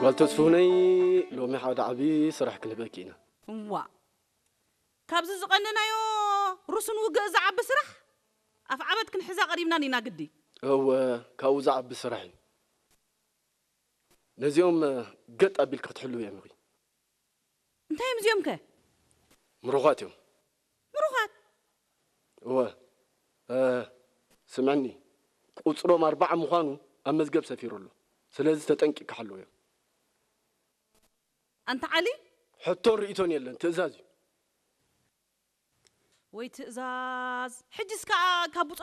ጓል ተስፉነይ፣ ሎሚ ሓደ ዓቢ ስራሕ ክንህበኪ ኢና። እዋ፣ ካብዚ ዝቐነናዮ ሩስን ውግእ ዝዓቢ ስራሕ ኣፍ ዓበት ክንሕዛ ቀሪብናን ኢና ግዲ። እወ፣ ካብኡ ዝዓቢ ስራሕ እዩ። ነዚኦም ገጥ ኣቢልኪ ክትሕልው እዮም ኢኺ። እንታይ እዮም እዚኦም ከ? ምሩኻት እዮም። ምሩኻት? እወ፣ እ፣ ስምዕኒ፣ ቁጽሮም ኣርባዓ ምዃኑ ኣብ መዝገብ ሰፊሩ ኣሎ። ስለዚ ተጠንቂቕካ ሓልውዮ። ኣንታ ዓሊ? ሕቶን ርእይቶን የለን፣ ትእዛዝ እዩ። ወይ ትእዛዝ። ሕጅስ ከኣ ካብ ብጾት